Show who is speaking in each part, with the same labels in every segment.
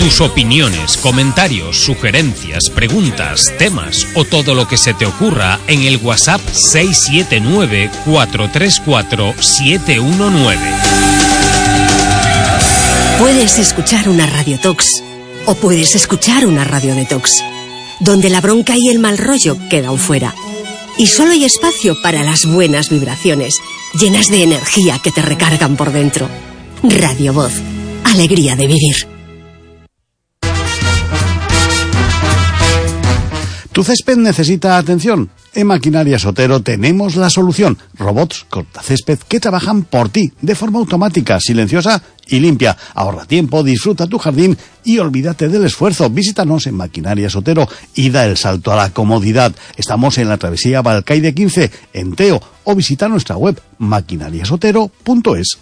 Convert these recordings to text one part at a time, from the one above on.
Speaker 1: Tus opiniones, comentarios, sugerencias, preguntas, temas o todo lo que se te ocurra en el WhatsApp 679-434-719.
Speaker 2: Puedes escuchar una Radio Tox o puedes escuchar una Radio Detox, donde la bronca y el mal rollo quedan fuera. Y solo hay espacio para las buenas vibraciones, llenas de energía que te recargan por dentro. Radio Voz, alegría de vivir.
Speaker 3: ¿Tu césped necesita atención? En Maquinarias Otero tenemos la solución. Robots cortacésped que trabajan por ti, de forma automática, silenciosa y limpia. Ahorra tiempo, disfruta tu jardín y olvídate del esfuerzo. Visítanos en Maquinarias Otero y da el salto a la comodidad. Estamos en la travesía Balcaide 15, en Teo, o visita nuestra web maquinariasotero.es.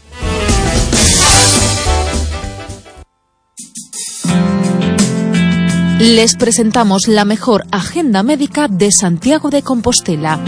Speaker 4: Les presentamos la mejor agenda médica de Santiago de Compostela.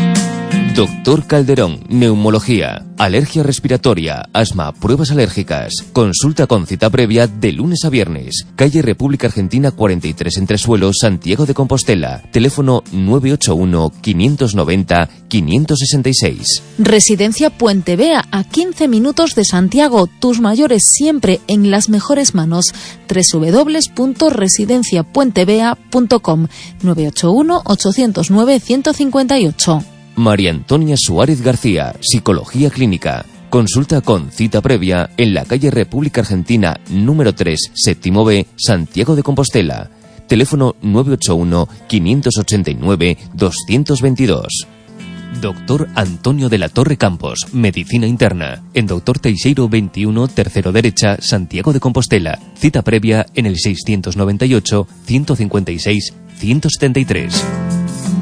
Speaker 5: Doctor Calderón, neumología, alergia respiratoria, asma, pruebas alérgicas. Consulta con cita previa de lunes a viernes. Calle República Argentina 43 Entresuelos, Santiago de Compostela. Teléfono 981-590-566.
Speaker 4: Residencia Puente Vea, a 15 minutos de Santiago. Tus mayores siempre en las mejores manos. www.residenciapuentevea.com 981-809-158.
Speaker 5: María Antonia Suárez García, Psicología Clínica. Consulta con cita previa en la calle República Argentina número 3, séptimo B, Santiago de Compostela. Teléfono 981-589-222. Doctor Antonio de la Torre Campos, Medicina Interna. En Doctor Teixeiro 21, tercero derecha, Santiago de Compostela. Cita previa en el 628-156-173.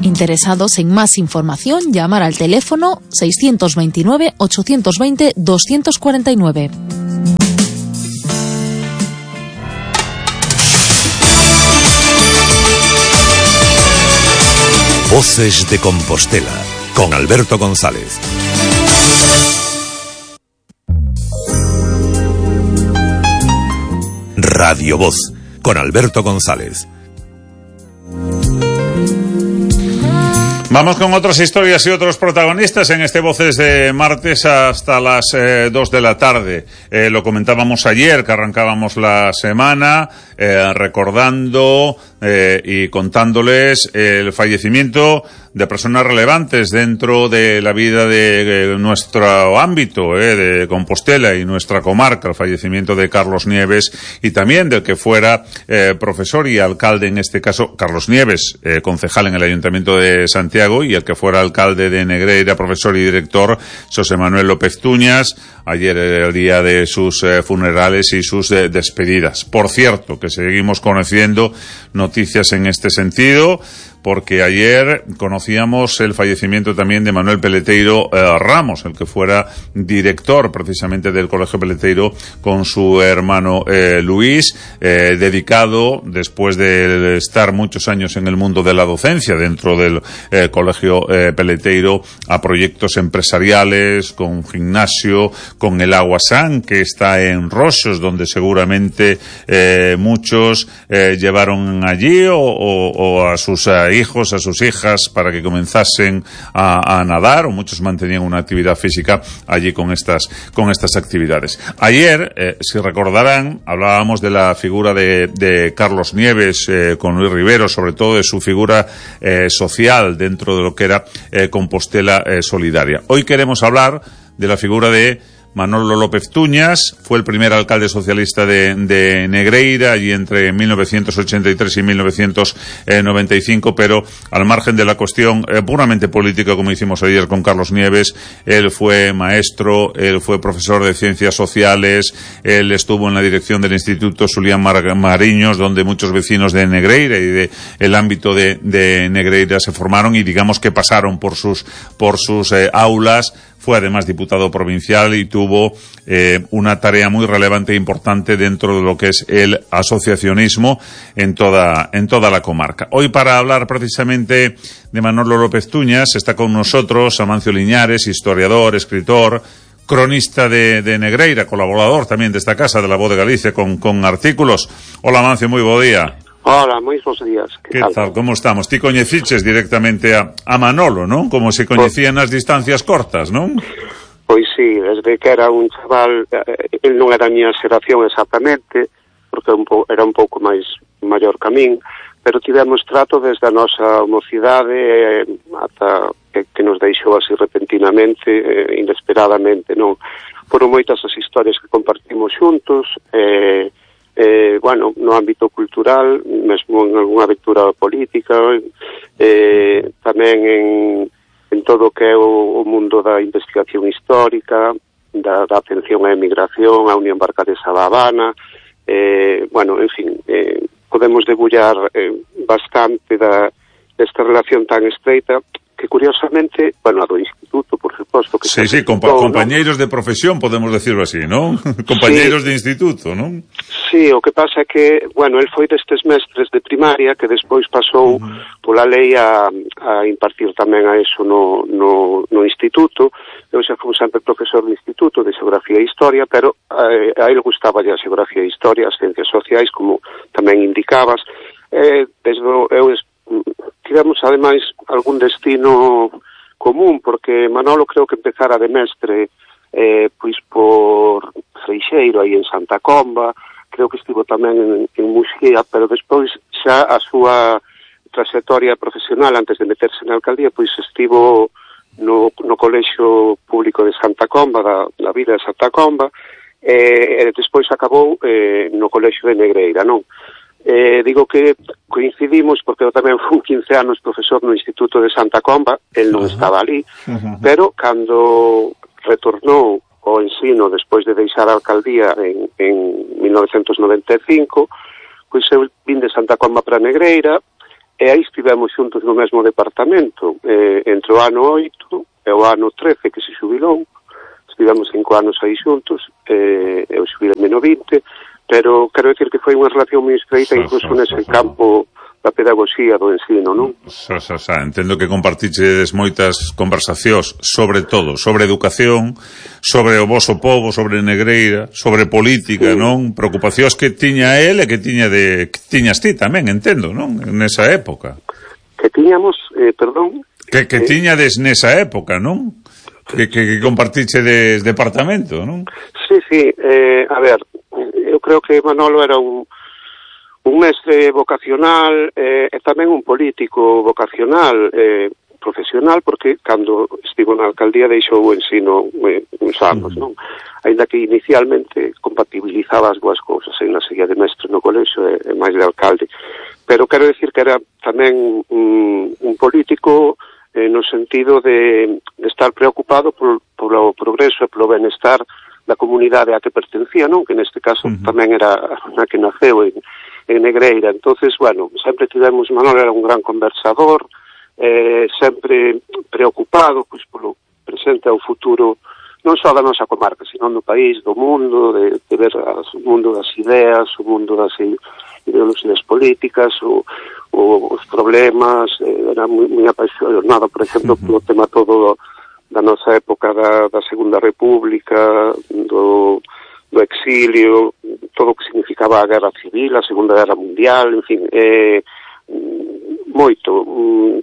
Speaker 4: Interesados en más información, llamar al teléfono 629-820-249.
Speaker 6: Voces de Compostela, con Alberto González. Radio Voz, con Alberto González.
Speaker 7: Vamos con otras historias y otros protagonistas en este Voces de martes hasta las 2 de la tarde. Lo comentábamos ayer, que arrancábamos la semana, recordando y contándoles el fallecimiento de personas relevantes dentro de la vida de nuestro ámbito, de Compostela y nuestra comarca, el fallecimiento de Carlos Nieves y también del que fuera profesor y alcalde, en este caso Carlos Nieves, concejal en el Ayuntamiento de Santiago, y el que fuera alcalde de Negreira, profesor y director, José Manuel López Tuñas. Ayer era el día de sus funerales y sus despedidas. Por cierto, que seguimos conociendo noticias en este sentido, porque ayer conocíamos el fallecimiento también de Manuel Peleteiro Ramos, el que fuera director precisamente del Colegio Peleteiro con su hermano Luis, dedicado, después de estar muchos años en el mundo de la docencia dentro del Colegio Peleteiro, a proyectos empresariales, con gimnasio, con el Aguasán, que está en Roxos, donde seguramente muchos llevaron allí o a sus hijos, a sus hijas, para que comenzasen a nadar, o muchos mantenían una actividad física allí con estas actividades. Ayer, si recordarán, hablábamos de la figura de Carlos Nieves con Luis Rivero, sobre todo de su figura social dentro de lo que era Compostela Solidaria. Hoy queremos hablar de la figura de Manolo López Tuñas. Fue el primer alcalde socialista de Negreira, allí entre 1983 y 1995, pero al margen de la cuestión puramente política, como hicimos ayer con Carlos Nieves, él fue maestro, él fue profesor de ciencias sociales, él estuvo en la dirección del Instituto Julián Mariños, donde muchos vecinos de Negreira y de el ámbito de Negreira se formaron y digamos que pasaron por sus aulas. Fue además diputado provincial y tuvo una tarea muy relevante e importante dentro de lo que es el asociacionismo en toda la comarca. Hoy, para hablar precisamente de Manolo López Tuñas, está con nosotros Amancio Liñares, historiador, escritor, cronista de Negreira, colaborador tamén desta casa de La Voz de Galicia con artículos. Hola, Mancio, moi bo día.
Speaker 8: Hola, moi bons días.
Speaker 7: Que tal? Como estamos? Ti coñeciches directamente a Manolo, non? Como se coñecían nas distancias cortas, non?
Speaker 8: Pois sí, desde que era un chaval, el non era a miña xeración exactamente, porque era un pouco máis maior que a min, pero tivemos trato desde a nosa mocidade ata que nos deixou así repentinamente, inesperadamente, non? Foron moitas as historias que compartimos xuntos, bueno, no ámbito cultural, mesmo en algunha aventura política, tamén en todo o que é o mundo da investigación histórica, da atención á emigración, a Unión Barcadesa da Habana, bueno, en fin, podemos debullar bastante desta relación tan estreita que curiosamente, bueno, a do instituto, por suposto que
Speaker 7: sí, compañeiros, ¿no?, de profesión, podemos decirlo así, ¿non? Compañeiros de instituto, ¿non?
Speaker 8: Sí, o que pasa é que, bueno, el foi destes mestres de primaria que despois pasou pola lei a impartir tamén a eso no instituto. Eu xa fui sempre profesor de instituto de xeografía e historia, pero a ele gustaba a xeografía e historia, as ciencias sociais, como tamén indicabas. Tivemos, ademais, algún destino común, porque Manolo creo que empezara de mestre pois por Freixeiro, aí en Santa Comba, creo que estivo tamén en Muxía, pero despois xa a súa trayectoria profesional antes de meterse na alcaldía, pois estivo no Colexio Público de Santa Comba, da vida de Santa Comba, e despois acabou no Colexio de Negreira, non? Digo que coincidimos porque eu tamén fui 15 anos profesor no Instituto de Santa Comba, el non estaba ali, pero cando retornou ao ensino despois de deixar a alcaldía en 1995, pois eu vin de Santa Comba para Negreira e aí estivemos xuntos no mesmo departamento entre o ano 8 e o ano 13 que se xubilou. Estivemos 5 anos aí xuntos, eu xubilei no 20, pero quero decir que foi unha relación moi estreita incluso nese campo da pedagogía do ensino, non?
Speaker 7: Entendo que compartiches moitas conversacións sobre todo, sobre educación, sobre o voso povo, sobre Negreira, sobre política, non? Preocupacións que tiña el e que tiñas ti tamén, entendo, non? Nesa época.
Speaker 8: Que tiñamos, perdón?
Speaker 7: Que tiñades nesa época, non? Que compartiche de departamento, non?
Speaker 8: Sí, a ver, eu creo que Manolo era un mestre vocacional e tamén un político vocacional, profesional, porque cando estivo na alcaldía deixou o ensino uns anos, non? Ainda que inicialmente compatibilizaba as dúas cousas, na seguía de mestre no colexio e máis de alcalde, pero quero decir que era tamén un político no sentido de estar preocupado polo progreso e polo benestar da comunidade a que pertencía, non? Que neste caso tamén era a que naceu en Negreira. Entonces, bueno, sempre tivemos, Manolo era un gran conversador, sempre preocupado pois polo presente ao futuro, non só da nosa comarca, sino do país, do mundo, de ver o mundo das ideas, o mundo das ideoloxías políticas, os problemas, era moi apaixonado, por exemplo, polo tema todo da nosa época da Segunda República, do exilio, todo o que significaba a Guerra Civil, a Segunda Guerra Mundial, en fin, moito.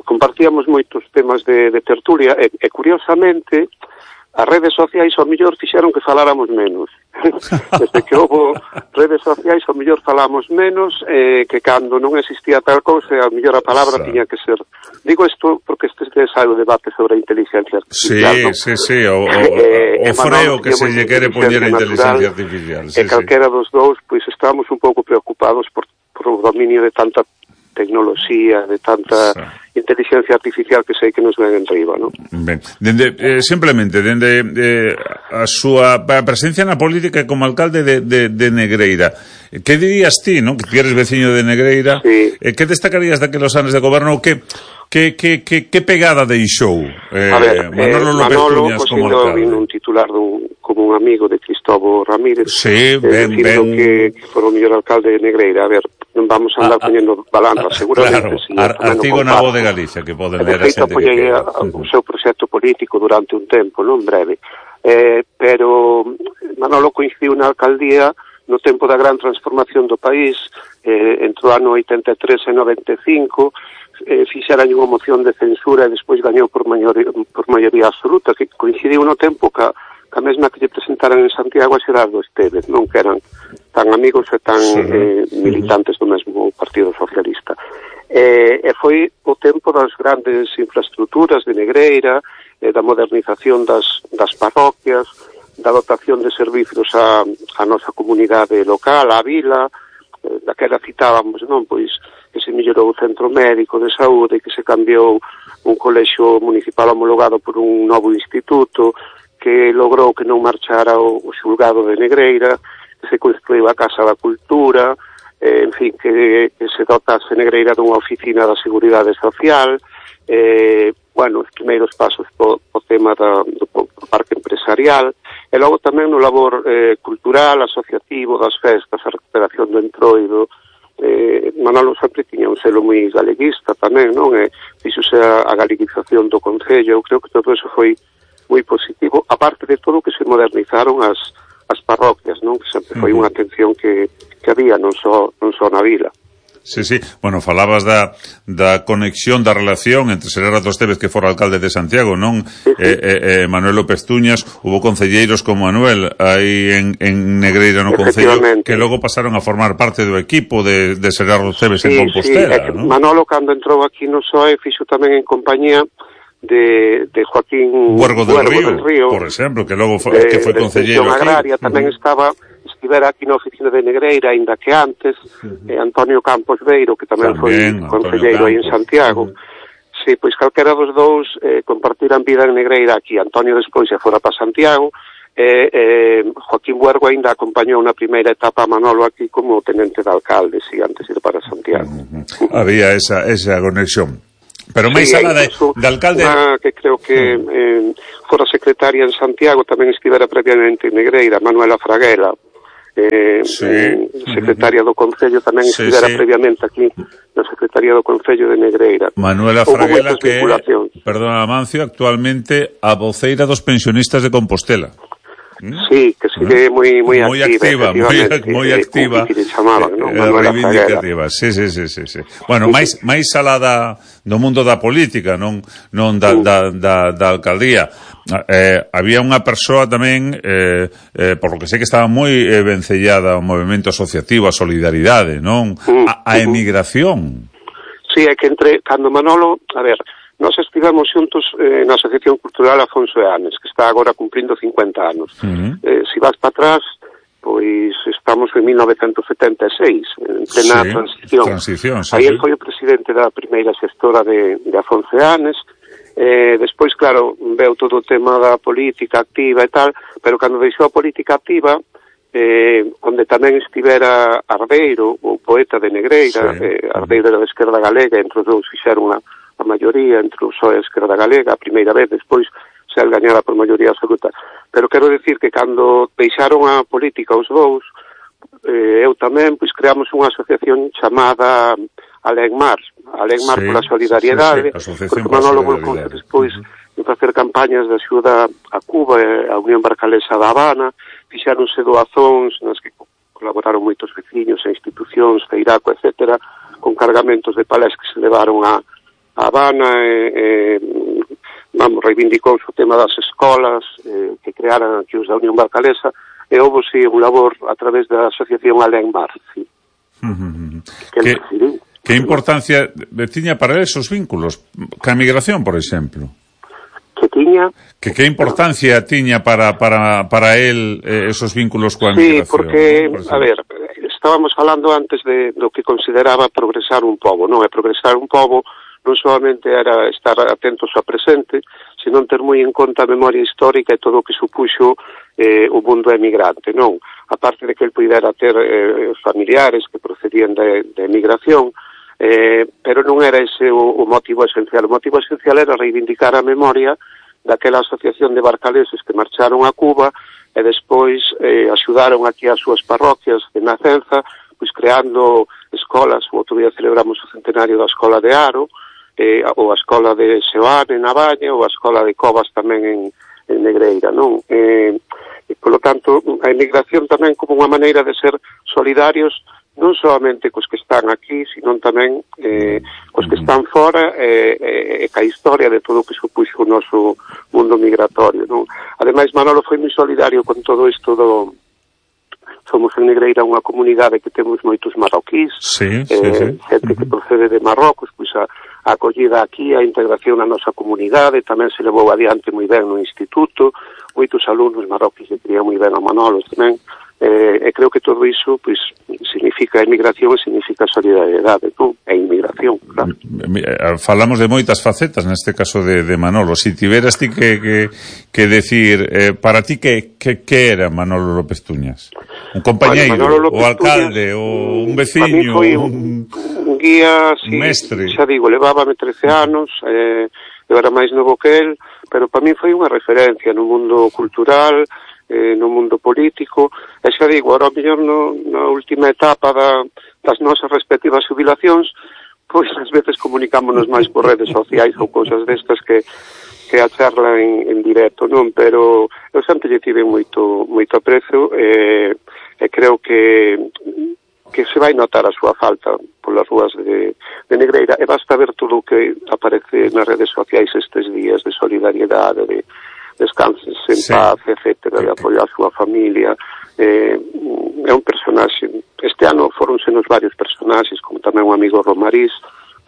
Speaker 8: Compartíamos moitos temas de tertulia e curiosamente, as redes sociais ao mellor fixeron que faláramos menos. Desde que houve redes sociais ao mellor falamos menos que cando non existía tal cousa, ao mellor a palabra tiña que ser. Digo isto porque este é o debate sobre a inteligencia artificial.
Speaker 7: Sí, o freo que se lle quere poñer a inteligencia artificial.
Speaker 8: E calquera dos dous, pois estamos un pouco preocupados por o dominio de tanta tecnoloxía, de tanta inteligencia artificial que sei que nos ven enriba, non?
Speaker 7: Ben, simplemente, dende a súa presencia na política como alcalde de Negreira, que dirías ti, non? Que ti eres veciño de Negreira, que destacarías daquelos anos de goberno, que pegada deixou
Speaker 8: Manolo López Cuñas como alcalde? Un titular como un amigo de Cristóbal Ramírez, dicindo que foi o mellor alcalde de Negreira. A ver, non vamos a andar poñendo balanzas, seguramente.
Speaker 7: Claro, artigo na Voz de Galicia que poden ler a xente que quera.
Speaker 8: O seu proxecto político durante un tempo, non breve. pero Manolo coincidiu na alcaldía no tempo da gran transformación do país, entre o ano 83 e 95, fixeran unha moción de censura e despois gañou por maioría absoluta, que coincidiu no tempo ca mesma que lle presentaran en Santiago a Xerardo Estévez, non que eran tan amigos e tan militantes do mesmo Partido Socialista. E foi o tempo das grandes infraestructuras de Negreira, da modernización das parroquias, da dotación de servicios a nosa comunidade local, a vila, daquela citábamos, non, pois que se mellorou o centro médico de saúde, que se cambiou un colexio municipal homologado por un novo instituto, que logrou que non marchara o xulgado de Negreira, que se construiu a Casa da Cultura, en fin, que se dotase Negreira dunha oficina da Seguridade Social, os primeiros pasos po tema do parque empresarial, e logo tamén no labor cultural, asociativo, das festas, a recuperación do entroido. Manolo sempre tiña un selo moi galeguista tamén, non? Fixose a galeguización do Concello. Eu creo que todo eso foi moi positivo, aparte de todo que se modernizaron as parroquias, non? Que sempre foi unha atención que había non só na vila.
Speaker 7: Sí. Bueno, falabas da conexión, da relación entre Xerardo Estévez, que fora alcalde de Santiago, non? Sí. Manuel López Tuñas, hubo concelleiros como Manuel aí en Negreira no Concello, que logo pasaron a formar parte do equipo de Xerardo Estévez en Compostela, non?
Speaker 8: Manolo, cando entrou aquí no PSOE, fixo tamén en compañía de Joaquín
Speaker 7: Huergo del Río, por exemplo, que logo foi concelleiro aquí.
Speaker 8: Agraria tamén estivera aquí na oficina de Negreira, aínda que antes, Antonio Campos Beiro, que tamén foi concelleiro aí en Santiago. Sí, pois calquera dos dous compartiran vida en Negreira aquí. Antonio despois xa fora para Santiago, Joaquín Huergo aínda acompañou na primeira etapa a Manolo aquí como tenente de alcalde, si antes ir para Santiago.
Speaker 7: Había esa conexión. Pero máis alá de alcalde...
Speaker 8: que creo que fora secretaria en Santiago, tamén estivera previamente en Negreira, Manuela Fraguela, secretaria do Concello, tamén estivera previamente aquí na Secretaría do Concello de Negreira.
Speaker 7: Manuela Fraguela, que, perdona Amancio, actualmente a voceira dos pensionistas de Compostela.
Speaker 8: Sí, que sigue moi
Speaker 7: activa, reivindicativa. Sí. Bueno, máis alá do mundo da política, non da alcaldía. Había unha persoa tamén, por lo que sei que estaba moi vencellada ao movemento asociativo, a solidaridade, non? A emigración.
Speaker 8: Sí, é que cando Manolo, nós estivemos xuntos na Asociación Cultural Afonso Eanes, que está agora cumprindo 50 anos. Se vas para atrás, pois estamos en 1976, en plena transición. Aí ele foi o presidente da primeira xestora de Afonso Eanes. Despois, claro, veu todo o tema da política activa e tal, pero cando deixou a política activa, onde tamén estivera Arbeiro, o poeta de Negreira, Arbeiro era da Esquerda Galega, entre os dous fixeron a maioría entre o PSOE e a Esquerda Galega, a primeira vez, despois se gañara por maioría absoluta. Pero quero decir que cando deixaron a política os dous, eu tamén, pois creamos unha asociación chamada Alegmar pola solidariedade, porque Manolo volcou despois de facer campañas de axuda a Cuba e a Unión Barcalesa da Habana, fixáronse doazóns nas que colaboraron moitos veciños e institucións, Feiraco, etcétera, con cargamentos de palés que se levaron a Habana, reivindicou o tema das escolas que crearan aquí os da Unión Barcalesa, e houve un labor a través da asociación Alegmar, sí.
Speaker 7: Que importancia tiña para esos vínculos ca migración, por exemplo?
Speaker 8: Que tiña?
Speaker 7: Que importancia tiña para él esos vínculos coa migración?
Speaker 8: Sí, porque, estábamos falando antes do que consideraba progresar un pobo, non? E progresar un pobo non solamente era estar atentos ao presente, senón ter moi en conta a memoria histórica e todo o que supuxo o mundo emigrante, non? A parte de que el pudera ter familiares que procedían de emigración, pero non era ese o motivo esencial. O motivo esencial era reivindicar a memoria daquela asociación de barcaleses que marcharon a Cuba e despois axudaron aquí as súas parroquias de Nacenza, pois creando escolas. O outro día celebramos o centenario da Escola de Aro, ou a Escola de Seoane na Baña, ou a Escola de Covas tamén en Negreira, non? Por lo tanto, a emigración tamén como unha maneira de ser solidarios non solamente cos que están aquí, sino tamén cos que están fora e ca historia de todo o que supuxo o noso mundo migratorio, non? Ademais, Manolo foi moi solidario con todo isto do... Somos en Negreira unha comunidade que temos moitos marroquís, xente que procede de Marrocos, pois a acollida aquí, a integración na nosa comunidade, tamén se levou adiante moi ben no instituto, moitos alumnos marroquís que querían moi ben a Manolo tamén, e creo que todo iso pois significa emigración e significa solidariedade, non? E inmigración, claro.
Speaker 7: Falamos de moitas facetas neste caso de Manolo. Si tiveras ti que decir para ti que era Manolo López Tuñas? Un compañeiro, o alcalde, ou un veciño,
Speaker 8: un guía,
Speaker 7: un mestre?
Speaker 8: Xa digo, levábame 13 anos, eu era máis novo que el, pero para mí foi unha referencia no mundo cultural, no mundo político, e xa digo, ahora mellor na última etapa das nosas respectivas jubilacións, pois ás veces comunicámonos máis por redes sociais ou cousas destas que a charla en directo, non? Pero eu sempre lle tive moito aprecio e creo que se vai notar a súa falta polas rúas de Negreira, e basta ver todo o que aparece nas redes sociais estes días de solidariedade, de descanses en paz, etcétera, de apoio á súa familia. É un personaxe. Este ano foronsenos varios personaxes, como tamén un amigo Romariz,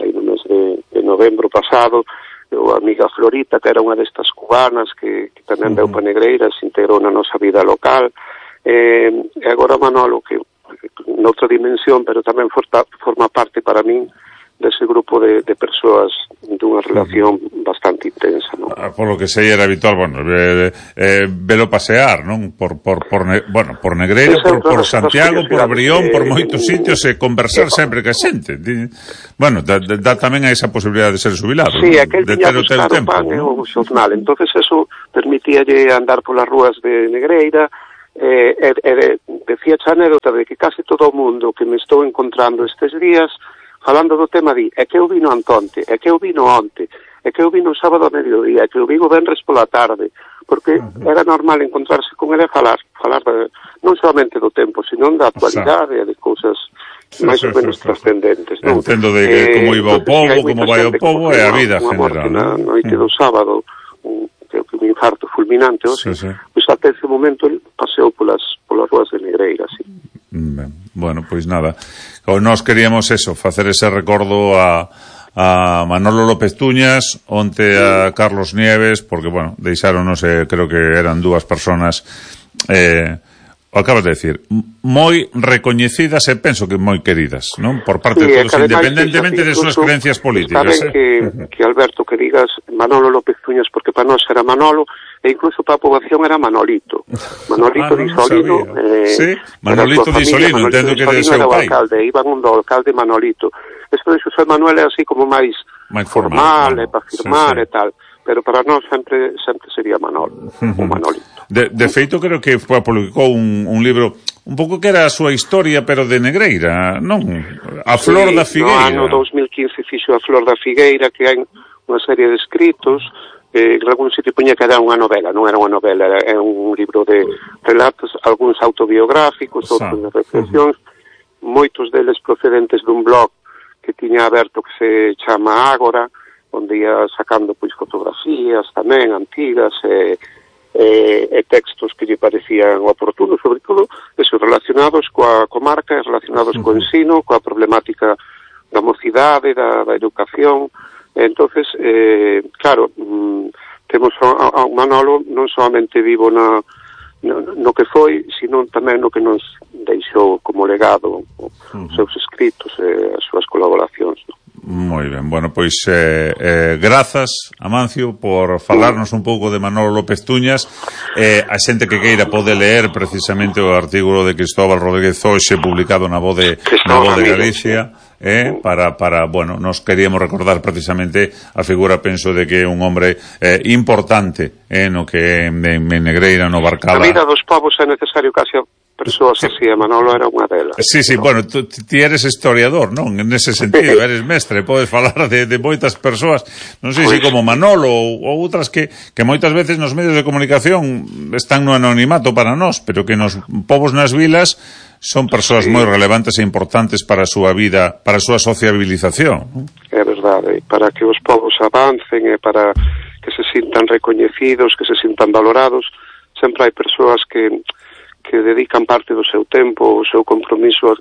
Speaker 8: aí no mes de novembro pasado, ou a amiga Florita, que era unha destas cubanas que tamén veu pa Negreira, se integrou na nosa vida local, e agora Manolo, que noutra dimensión, pero tamén forma parte para min dese grupo de persoas dunha relación bastante intensa, non?
Speaker 7: Por lo que sei era habitual, velo pasear, non? Por Negreira, por Santiago, por Brión, por moitos sitios, e conversar sempre ca xente. Bueno, dá tamén a esa posibilidade de ser jubilado,
Speaker 8: sí, aquel de ter o tempo, pan e o xornal, entonces eso permitíalle andar polas rúas de Negreira, decía a anécdota de que case todo o mundo que me estou encontrando estes días falando do tema é que eu vino antonte, é que eu vino onte, é que eu vino sábado a mediodía, é que eu vino venres pola tarde, porque era normal encontrarse con ele e falar non solamente do tempo, sino da actualidade e de cousas máis ou menos trascendentes, non?
Speaker 7: Entendo de como iba o povo, como vai o povo e a vida general,
Speaker 8: na noite do sábado, un infarto fulminante, pois até ese momento ele paseou polas ruas de Negreira, así.
Speaker 7: Bueno, pois nada, nós queríamos facer ese recordo a Manolo López Tuñas, onte a Carlos Nieves, porque, deixáronos, creo que eran dúas personas, acabas de decir, moi recoñecidas e penso que moi queridas, non? Por parte de todos, independentemente de súas creencias políticas.
Speaker 8: Saben que Alberto, que digas Manolo López Tuñas, porque para nós era Manolo, e incluso para a poboación era Manolito. Manolito Di Solino.
Speaker 7: Sí, Manolito Di Solino, entendo que de seu pai.
Speaker 8: Iban un do alcalde Manolito. Esto de Xosé Manuel é así como máis formal, para firmar e tal. Pero para nós sempre sería Manolo, o Manolito.
Speaker 7: De feito, creo que publicou un libro un pouco que era a súa historia, pero de Negreira, non? A Flor da Figueira.
Speaker 8: No ano 2015 fixo a Flor da Figueira, que hai unha serie de escritos, en algún sitio poñía que era unha novela, non era unha novela, era un libro de relatos, algúns autobiográficos, outros de reflexións, moitos deles procedentes dun blog que tiña aberto que se chama Ágora, onde ia sacando pois fotografías tamén antigas e textos que lle parecían oportunos, sobre todo esos relacionados coa comarca, relacionados co ensino, coa problemática da mocidade, da educación. Entonces, claro, temos a Manolo non solamente vivo no que foi, sino tamén no que nos deixou como legado os seus escritos e as súas colaboracións, non?
Speaker 7: Moi ben, pois grazas, Amancio, por falarnos un pouco de Manolo López Tuñas. A xente que queira pode ler precisamente o artículo de Cristóbal Rodríguez Oxe publicado na Voz de Galicia, nos queríamos recordar precisamente a figura, penso, de que é un hombre importante no que en Negreira, no Barcala.
Speaker 8: A vida dos povos é necesario case persoas así, e Manolo era unha delas.
Speaker 7: Sí, bueno, ti eres historiador, non? En ese sentido, eres mestre, podes falar de moitas persoas, non sei se como Manolo ou outras que moitas veces nos medios de comunicación están no anonimato para nós, pero que nos povos nas vilas son persoas moi relevantes e importantes para a súa vida, para a súa sociabilización.
Speaker 8: É verdade, para que os povos avancen e para que se sintan recoñecidos, que se sintan valorados, sempre hai persoas que dedican parte do seu tempo, o seu compromiso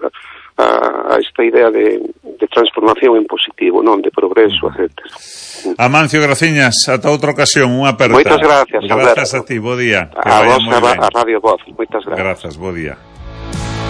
Speaker 8: a esta idea de transformación en positivo, non de progreso, etc.
Speaker 7: Amancio Graciñas, ata outra ocasión, unha aperta.
Speaker 8: Moitas gracias,
Speaker 7: Grazas a ti, bo día.
Speaker 8: A vos, a Radio Voz, moitas gracias.
Speaker 7: Grazas, bo día.